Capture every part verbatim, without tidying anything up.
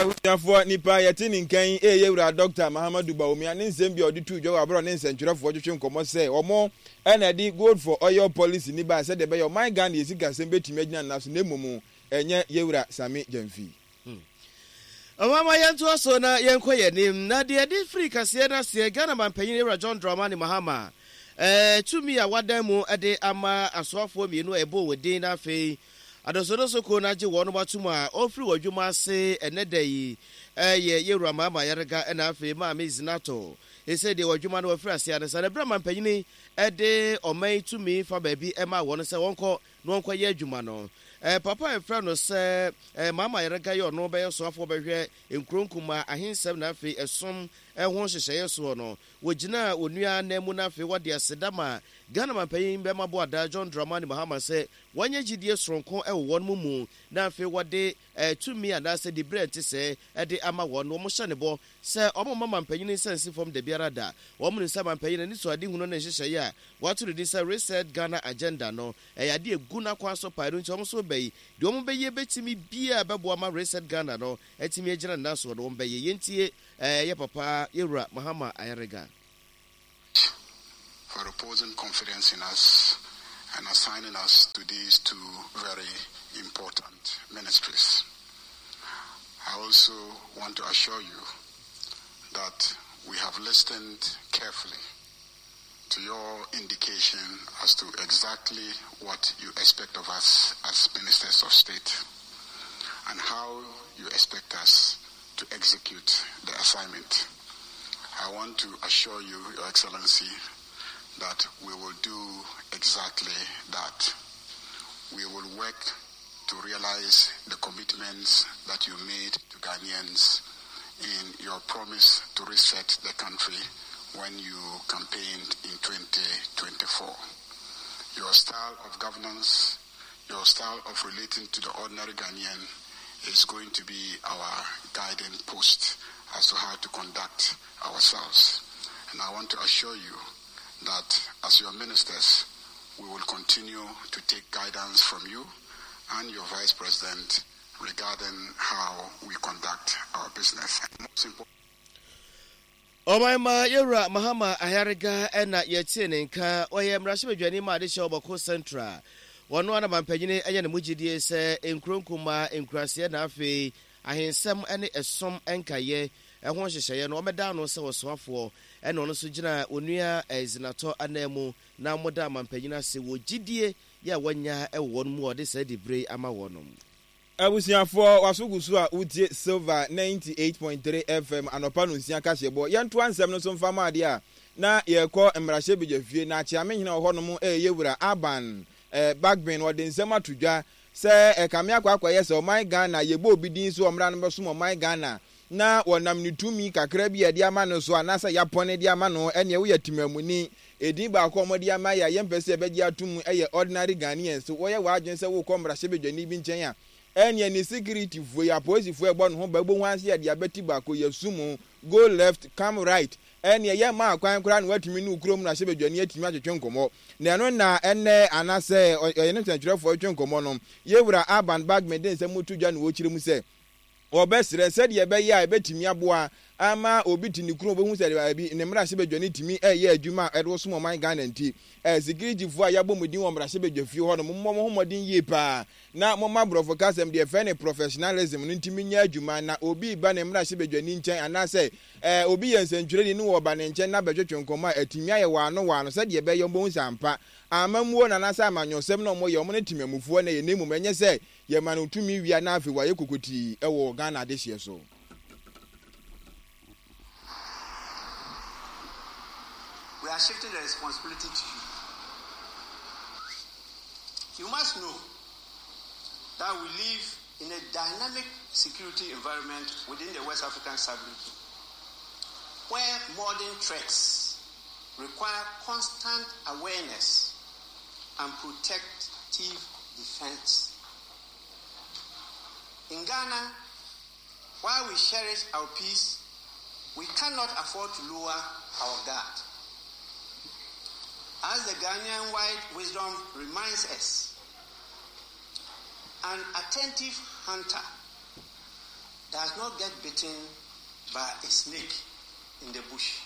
Abusuafoɔ, nipa a yɛte ne nka yi yɛ Wura Dɔkta Mahamadou Bawumia ne nsɛm bi a ɔde too dwa wɔ aberɛ a ɔne nsɛntwerɛfoɔ twetwe nkɔmmɔ sɛ wɔn na ɛde Gold for Oil Policy no baeɛ sɛdeɛ ɛbɛyɛ ɔman Ghana yɛ sikasɛm bɛtumi agyina ne nan so na mmom ɛnyɛ Yɛwura Sammy Gyamfi. Momma yɛntoa so na yɛnkɔ yɛn anim. Na deɛ ɛde firi kaseɛ no aseɛ, Ghana manpanyin Ewura John Dramani Mahama tumi a wadan mu de ama asoafoɔ mmienu a ɛbɔɔ wɔn din na afei adɔsɔdɔsɔ kuo no agye wɔnom atom a ɔrefiri wɔn adwuma ase ɛnnɛ da yi yɛ Yɛwura Mahama Ayariga ɛna afei Maame Zinato. Seesei deɛ wɔn adwuma no wɔafiri aseɛ ansa na berɛ a manpanyin de ɔman yi tumi fa baabi maa wɔn sɛ wɔnkɔ na wɔnkɔyɛ adwuma no. Papa a yɛfrɛ no sɛ Mama Ayariga yi ɔno bɛyɛ soafoɔ bɛhwɛ nkuro nkumaa, ahensɛm na afei ɛsom ho nhyehyɛeɛ soɔ no, wɔgyinaa onua anan mu na afei wɔde aseda maa Ghana manpanyin bɛma Boadaa John Dramani Mahama sɛ wanya gyidie soronko wɔ wɔn mu na afei wɔde tumi anaasɛ diberɛ a ɛte sɛɛ de ama wɔn. Wɔhyɛ no bɔ sɛ wɔmma manpanyin nsa nsi fam dabiara da. Wɔnim sɛ manpanyin anisoadehunu ne nhyehyɛeɛ a wɔato no din sɛ Reset Ghana Agenda no, ɛyɛ adeɛ a ɛgu n'akwan so paa. Ɛno nti wɔn nso reba yi, deɛ wɔbɛyɛ bɛtumi biara a ɛbɛboa ma Reset Ghana no atumi agyina ne nan soɔ no, wɔbɛyɛ. Yɛntie yɛ papa Yɛwura Mahama Ayariga. For reposing confidence in us and assigning us to these two very important ministries. I also want to assure you that we have listened carefully to your indication as to exactly what you expect of us as ministers of state and how you expect us to execute the assignment. I want to assure you, Your Excellency, that we will do exactly that. We will work to realize the commitments that you made to Ghanaians in your promise to reset the country when you campaigned in twenty twenty-four. Your style of governance, your style of relating to the ordinary Ghanaian is going to be our guiding post as to how to conduct ourselves. And I want to assure you that as your ministers, we will continue to take guidance from you and your vice president regarding how we conduct our business. And most important, Ɔman ma Yɛwura Mahama Ayariga na yɛtie ne nka. Ɔyɛ mmarahyɛbadwani ma adehyɛ Ɔbɔko Central. Wɔno ara na mampanyini anya ne mu gyidie sɛ nkuro nkumaa, nkuraseɛ na afei ahensɛm ne ɛsom nkayɛ ho nhyehyɛeɛ no wɔmmɛda ano sɛ ɔsoafoɔ ɛna ɔno nso gyina Onua Zinatɔ ananmu na wɔda mampanyini ase wɔ gyidie yɛ a wɔanya wɔ wɔn mu a ɔde saa dibere yi ama wɔnom. Abusuafoɔ, w'aso gu so a wotie Silver ninety eight point three F M anɔpa nonsia kaseɛbɔ. Yɛntoa nsɛm no so mfa mma adeɛ a na yɛrekɔ mmarahyɛbadwafie na Akyeamehene wɔ hɔnom reyɛ wura Aban Bagbin. Ɔde nsɛm ato dwa sɛ ɛkame akɔ akɔyɛ sɛ ɔman Ghana yɛbɔ obi din sɛ ɔmmra no bɛsom ɔman Ghana na wɔnam ne tumi kakra bi a yɛde ama no so anaasɛ yɛapɔne de ama no, ɛneɛ woyɛ temamuni. Edin baako a wɔde ama yɛ a yɛmpɛ sɛ yɛbɛgye atom yɛ ordinary Ghanaians. Woyɛ w'adwene sɛ worekɔ mmarahyɛbadwani bi nkyɛn a, ɛneɛ ne securityfoɔ yi, apolisifoɔ a ɛbɔ ne ho ban, wobɛhu ara sɛ yɛde abati baako, yɛasu mu, go left, come right, ɛneɛ yɛmma kwan koraa na woatumi ne wo kurom mmarahyɛbadwani atumi atwetwe nkɔmmɔ. Na ɛno na ɛnnɛ anaasɛ ɔyɛ ne nsɛntwerɛfoɔ retwe nkɔmmɔ no, Yɛwura Alban Bagbin de nsɛm to dwa na ɔrekyerɛ mu sɛ, wɔbɛsrɛ sɛdeɛ ɛbɛyɛ a ɛbɛtumi aboa ama obi te ne kurom ɔbɛhu sɛ baabi ne mmarahyɛbadwa no tumi reyɛ adwuma a ɛde wɔsom ɔman Ghana nti. Sikiritifoɔ a yɛabɔ mo din wɔ mmarahyɛbadwa fie hɔ no, mommɔ mo ho mmɔden yie paa na momma borɔfo kasɛm deɛ yɛfrɛ no professionalism no ntumi nyɛ adwuma na obi reba ne mmarahyɛbadwani nkyɛn anaasɛ obi yɛ nsɛntwerɛni na wɔba ne nkyɛn na bɛtwetwe nkɔmmɔ a atumi ayɛ waano waano sɛdeɛ ɛbɛyɛ wɔbɛhu sɛ ampa amammuo no anaasɛ amanyɔsɛm na wɔyɛ wɔn ne temamufoɔ na ɛyɛ na mmom ɛnyɛ sɛ yɛma no tumi wia na afei wayɛ kokotii wɔ Ghana adehyeɛ so. We are shifting the responsibility to you. You must know that we live in a dynamic security environment within the West African sub-region, where modern threats require constant awareness and protective defense. In Ghana, while we cherish our peace, we cannot afford to lower our guard. As the Ghanaian wide wisdom reminds us, an attentive hunter does not get bitten by a snake in the bush.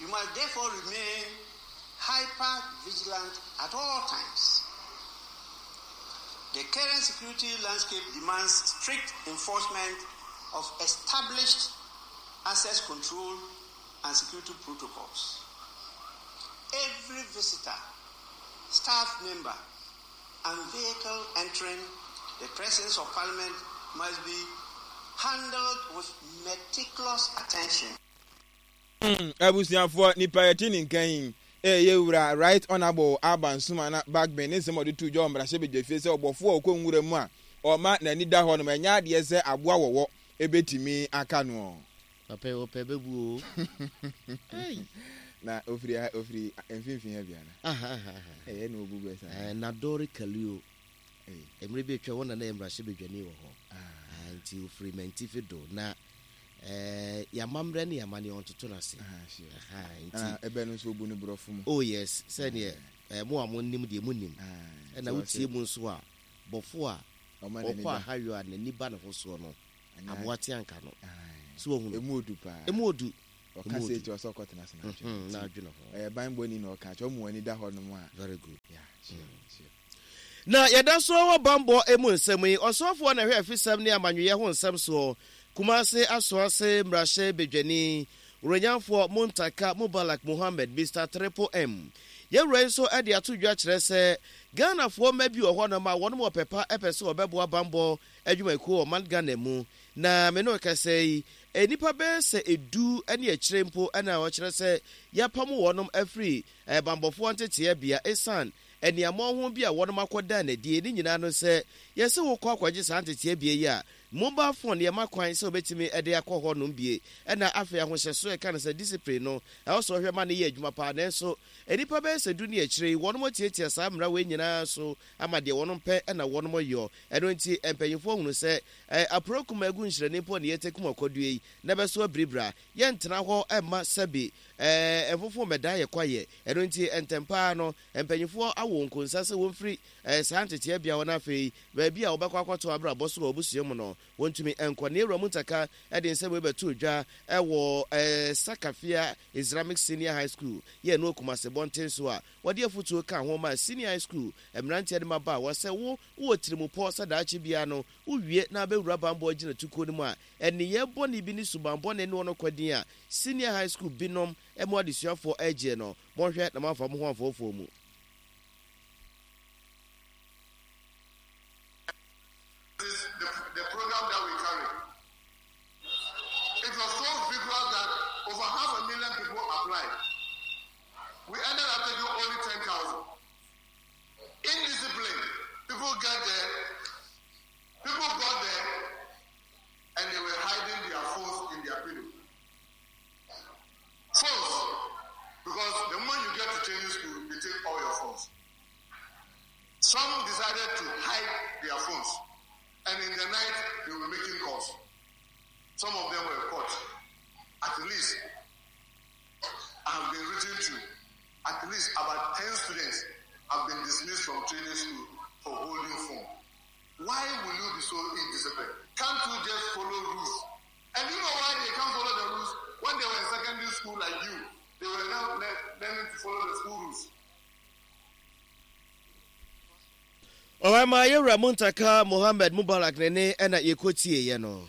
You must therefore remain hyper vigilant at all times. The current security landscape demands strict enforcement of established access control and security protocols. Every visitor, staff member, and vehicle entering the presence of Parliament must be handled with meticulous attention. Abusuafoɔ, nipa yɛte ne nkan yi ɛyɛ wura Right Honourable Alban Sumana Bagbin ne nsɛm a ɔde to dwa wɔ mmarahyɛbadwafie sɛ ɔbɔfoɔ a ɔkɔ nwura mu a ɔma n'ani da hɔ nom, ɛnyɛ adeɛ sɛ aboa wɔwɔ ɛbɛtumi aka no. Papa yi ɔpɛ bɛbu o. Na ofiri ha, ofiri mfimfini ha biara. Ɛyɛ na obu bɛ saa. Ɛɛ Nadori Kalio. Mmerɛ bi atwa wɔn na na yɛ mmarahyɛbadwani wɔ hɔ. Nti ofiri Mantifi do na ɛɛ yamammerɛ ne yamane ɔntoto n'ase. Nti ɛbɛ no nso obu ne borɔfo mu. Oh yes, sɛdeɛ ɛɛ mo a mo nim deɛ mo nim. Ɛna wotie mu nso a, bɔfo a ɔkɔ ahayɔ a n'ani ba ne ho soɔ no, aboa te anka no. So ohun. Emu odu paa. Emu odu. Ɔka sɛ eti ɔsɛ ɔkɔtena ase n'adwene. N'adwene ho. Ɛyɛ banbɔni na ɔka kyerɛ ɔmo ani da hɔ nom a. Very good. Yeah, sure, sure. Na yɛda so wɔ bambɔ emu nsɛm yi, ɔsɔfoɔ na ɛhwɛ afisɛm ne amanyɔyɛ ho nsɛm soɔ, Kumase Asoase mmarahyɛ badwani, Wuranyanfoɔ Muntaka Mubarak Muhammed, Mister Triple M. Yɛwura yi nso de ato dwa kyerɛ sɛ Ghanafoɔ mma bi wɔ hɔnom a wɔn wɔ pɛpa pɛ sɛ wɔbɛboa bambɔ adwumakuo wɔ man Ghana mu. Na me ne ɔkasa yi, nnipa bɛyɛ sɛ edu ne akyire mpo na ɔkyerɛ sɛ yɛapam wɔnom afiri bambɔfoɔ nteteɛbea ɛsiane aniammɔn ho bi a wɔnom akɔda n'adie. Ne nyinaa no sɛ yɛsɛ wokɔ akɔgye saa nteteɛbea yi a, mobile phone yɛma kwan sɛ wobɛtumi de akɔ hɔ nom bie. Ɛna afei ahohyɛso ɛka no sɛ discipline no ɛwɔ sɛ ɔhwɛ ma no yɛ adwuma paa. Nanso nnipa bɛyɛ sɛ du ne akyire yi, wɔnom atiatia saa mmara wei nyinaa so ama deɛ wɔnom pɛ ɛna wɔnom yɔ. Ɛno nti mpanyinfoɔ hunu sɛ apurokum agu nhyerɛne mpo ne yɛte kum akɔdue yi na bɛso abiribira. Yɛntena hɔ ɛmma sɛbi ɛɛ mfofo mmɛdan yɛ kwayɛ. Ɛno nti ntɛmpaa no mpanyinfoɔ awo nkonsa sɛ wɔmfiri ɛɛ saa nteteɛbea hɔ, na afei baabi a wɔbɛkɔ akɔto abrabɔ so wɔ abusua mu no wɔntumi nkɔ. Ne ewura Muntaka ɛde nsɛm wei bɛto dwa ɛwɔ ɛɛ Sakafia Islamic Senior High School yɛ no Kumase bɔnten so a wɔde afutuo ka ho ma senior high school mmeranteɛ de maba a wɔsɛ wo wɔ tirimupɔ sɛ daakye bia no wowie na abɛwura bambɔ gyina tukuo no mu a ɛneyɛ bɔne bi ne suban bɔne ne wɔn kɔdin a senior high school binom ɛmu adesuafoɔ ɛgyeɛ no, monhwɛ na moamfa mo ho amfoɔfoɔ mu. This the, the program that we carry. It was so vigorous that over half a million people applied. We ended up taking only ten thousand. Indiscipline. People get there. People got there and they were hiding their phones in their pillow. Phones. Because the moment you get to training school, they take all your phones. Some decided to hide their phones. And in the night, they were making calls. Some of them were caught. At least, I have been written to, at least about ten students have been dismissed from training school for holding phone. Why will you be so indisciplined? Can't you just follow rules? And you know why they can't follow the rules? When they were in secondary school like you, they were now learning to follow the school rules. Ɔwɛma yɛwura Muntaka Mohammed Mubarak ne ne ɛna yɛkɔtie yɛ no.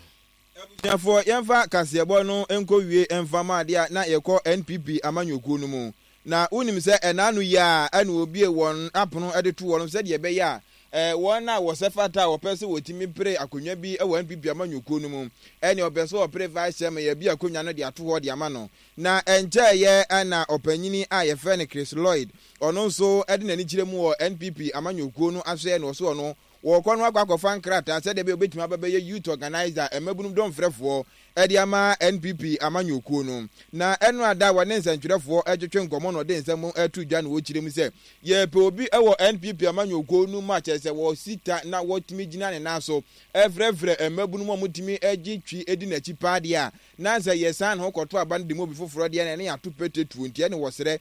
Abusuafoɔ, yɛmfa kaseɛbɔ no nkɔ wie mfa ma adeɛ a na yɛkɔ N P P amanyɔkuo no mu. Na wonim sɛ ɛna no yi a ɛna obie wɔn apono de to wɔn sɛdeɛ ɛbɛyɛ a ɛɛ wɔn a wɔsɛ fata a wɔpɛ sɛ wɔtumi pere akonnwa bi wɔ N P P amanyɔkuo no mu, ɛne ɔpɛ sɛ ɔpere vice chairman, yɛbi akonnwa no de ato hɔ de ama no. Na ɛnkyɛɛyɛ ɛna ɔpanyini a yɛfrɛ no Chris Lloyd, ɔno nso ɛde n'ani kyerɛ mu wɔ N P P amanyɔkuo no asoɛ na ɔso ɔno wɔkɔ no akɔ akɔfa nkrataa sɛdeɛ ɛbɛyɛ obɛtumi aba bɛyɛ youth organizer, mmabunum dɔmfrɛfoɔ ɛde ama N P P amanyɔkuo no. Na ɛno ada wɔne nsɛntwerɛfoɔ ɛtwetwe nkɔmmɔ na ɔde nsɛm ɛto dwa na wɔkyerɛ mu sɛ yɛpɛ obi ɛwɔ N P P amanyɔkuo no mu a kyerɛ sɛ wɔsita na wɔtumi gyina ne nan so ɛfrɛfrɛ mmabunum a wɔtumi agye twi edi n'akyi paa deɛ a na sɛ yɛsan ne ho kɔto aba no de mu obi foforɔ deɛ na ɛne yɛato pete tuo. Nti ɛne wɔsrɛ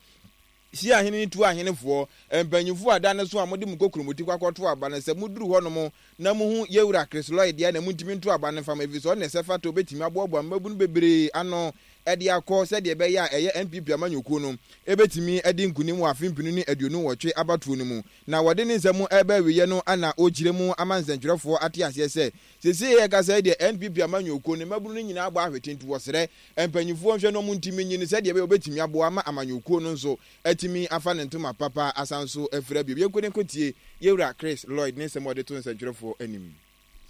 Si ahene ne tu ahenefoɔ, mpanyimfoɔ a da no so a mode mo kokuromoti kɔ akɔto aba no, sɛ moduru hɔnom na muhu Yewura Chris Lloyd deɛ a na montumi nto aba no mfa ma, efisɛ ɔno na ɛsɛ fata a obetumi aboaboa mmabunu bebree ano de akɔ sɛdeɛ ɛbɛyɛ a ɛyɛ N P P amanyɔkuo no bɛtumi adi nkunim wɔ afe mpenu ne aduonu nwɔtwe abatoɔ no mu. Na wɔde ne nsɛm reba awieɛ no na ɔrekyerɛ mu ama nsɛntwerɛfoɔ ate aseɛ sɛ seesei yɛrekasa yi deɛ N P P amanyɔkuo no mmabunu no nyinaa abɔ ahwete, nti wɔsrɛ mpanyinfoɔ nhwɛ na wɔntumi nyi no sɛdeɛ ɛbɛyɛ wɔbɛtumi aboa ama amanyɔkuo no nso atumi afa ne ntoma papa asan so afira bio. Yɛnkɔ ne nkɔtie Yewura Chris Lloyd ne nsɛm a ɔde to nsɛntwerɛfoɔ anim.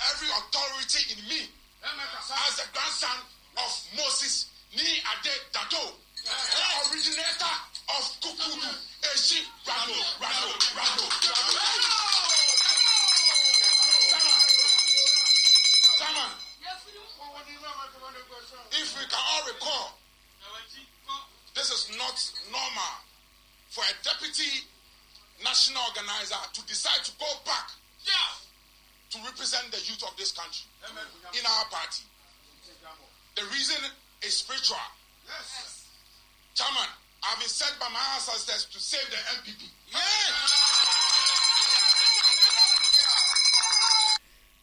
Every authority in me as the grandson of Moses Nii Ade Dado, the originator of Kukudu Eshi Rado Rado Rado Rado. Chairman, Chairman, if we can all recall, this is not normal for a deputy national organizer to decide to go back to represent the youth of this country in our party. The reason is spiritual. Yes. Chairman, I've been sent by my ancestors to save the N P P.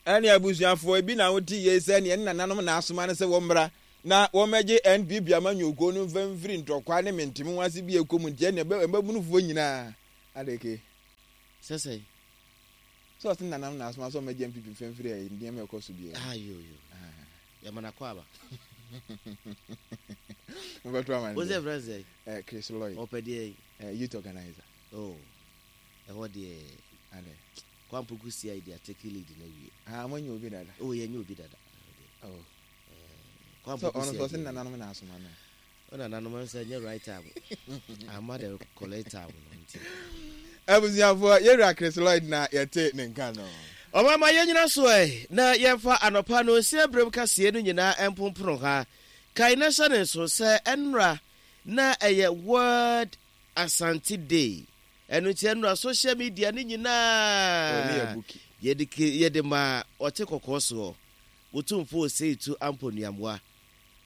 Ɛne abusuafoɔ ebi na wote yie sɛ neɛ ne nananom na asoma no sɛ wɔmmra na wɔmmɛgye N P P amanyɔkuo no mfa mfiri ntɔkwa ne menteme ho ase bi ɛkɔ mu, nti ɛne mmabunufoɔ nyinaa adeke. Sɛ sɛ Sɛ ɔse nananom na asoma sɛ ɔmmɛgye N P P mfa mfiri ɛyi nneɛma ɛkɔ so biara. Ayo yo, yɛma no akɔ aba. Mobɛto ama wo sɛ frɛ sɛ no Chris Lloyd. Ɔpɛ deɛ? eh, youth organizer. Oh, ɛhɔ deɛ ade Kwampoku C I D atake lead na wie. Ah, moanya obi dada? Oh, yɛnyɛ obi dada. Oh. Sɛ Kwampoku ɔno sɛ ɔse C I D nananom na asoma no. Ɔna nananom sɛ nyɛ right time ama the correct time no nti. Abusuafoɔ, yɛwura Chris Lloyd na yɛte ne nka no. Ɔmama yɛnyina so ɛ na yɛmfa anɔpa no nsia berɛm kaseɛ no nyinaa ɛmpomporo ha. Kae na hyɛ ne nso sɛ ɛnora na ɛyɛ World Asante Day. Ɛno nti ɛnora social media no Ɔne yɛ nyinaa buki. yɛde ke- yɛde ma ɔte kɔkɔɔ soɔ Wotumfo Oseitu Ampɔnuamoa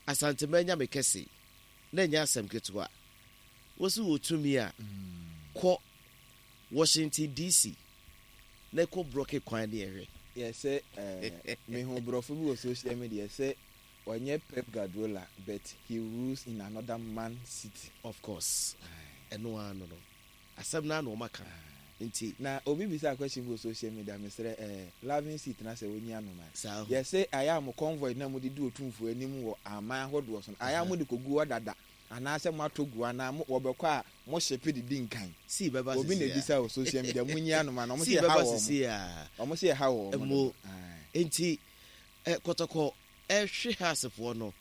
Asantema Nyame kɛse na ɛnyɛ asɛm ketewa. Wosi wɔ tumi a kɔ Washington D C na kɔ block kwan ne ɛhwɛ. Yɛsɛ eh, mehu borɔfo bi wɔ social media sɛ ɔnyɛ Pep Guardiola, but he rules in another man city. Of course, ɛno ara no no asɛm no ano ɔma ka nti. Na obi bisa question bi wɔ social media, mesrɛ eh, loving seat na sɛ onyi anoma. Saa ho. Yɛsɛ ayɛ a mo convoy na mode di Otumfoɔ anim wɔ aman ahodoɔ so no, ayɛ a mode kɔgu hɔ dada anaasɛ moatɔ gu anaa mo- wɔbɛkɔ a mo hyepe de di nkan? Sii bɛba Obi na sisi a ebisa wɔ social media, munyi anoma na ɔmo sii sɛ ɛha bɛba wɔ sisi a ɔmo sɛ ɛha wɔ ɔmo Mo. dodo. Aye. Nti ɛ Kɔtɔkɔ ɛhwe ha asefoɔ no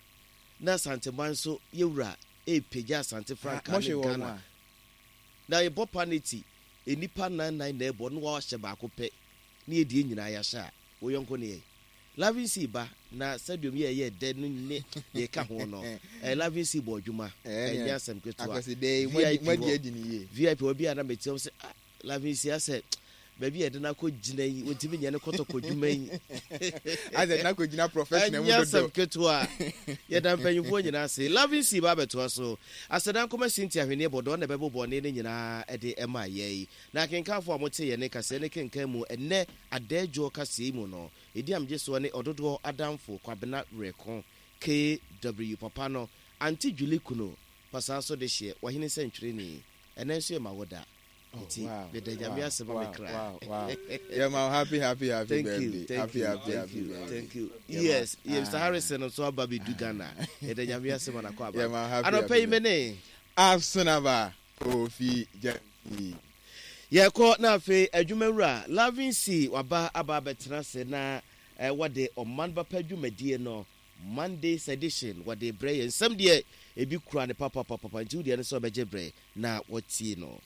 na Asanteman nso yɛwura ɛpagya Asante Ah, frankaa mohwe ne wɔ mo Ghana a na yɛbɔ paneti nnipa nan nan na ɛbɔ na wɔahyɛ baako pɛ ne yɛdie nyinaa yɛahyɛ a wo yɔnko ne yɛ Loving C ba na stadium yɛ ɛyɛ dɛ no ne deɛ ɛka ho no ɛ Loving C bɔ adwuma. Ɛɛ, ɛnyɛ asɛm ketewa. Akwasi de V I P moadi hɔ. adi ne yie. V I P wɔ bi a na mete hɔ sɛ, ah, Loving C asɛ baabi a yɛde no akɔ gyina yi, wɔntumi nyɛ ne Kɔtɔkɔ dwuma yi. Asɛ na kɔgyina professional mu Ɛnyɛ asɛm dodo. ketewa. Yɛda mpanyimfoɔ nyinaa ase. Loving C ba abɛtoa so asɛda nkɔma Sinti ahwenneɛ bɔdɔ na ɛbɛbɔ bɔne no nyinaa ɛde ɛma yɛ yi na akenkanfoɔ a mote yɛ ne kaseɛ ne kenkan mu ɛnnɛ adaadwoɔ kaseɛ yi mu no ɛdi amgye soɔ ne ɔdodoɔ adamfo Kwabena Werɛko K W papa no Ante Julie Kuno pasaa so de hyeɛ wahene sɛ ntwerɛni. Ɛnɛ nso yɛ ma wo da nti meda Nyame ase ma me kra. Yeah, man, happy, happy, happy Thank birthday. you, thank Happy, you, happy, thank happy you, birthday. thank you. Yeah, Yes, man. yes, Mister Harrison nso aba bɛdu Ghana. Yɛda Nyame ase ma nakɔ aba. Yeah, man, happy, Anɔpɛ happy yi me ne Asunaba Kofi Jemfi. Yɛkɔ na afei adwumawura Loving C waba aba abɛtena ase na eh, wɔde ɔman bapa dwumadie no Mondays edition wɔde brɛ yɛn. Nsɛm deɛ ebi kura ne papapapapa nti wodeɛ no sɛ ɔbɛgye brɛ na wɔtie no.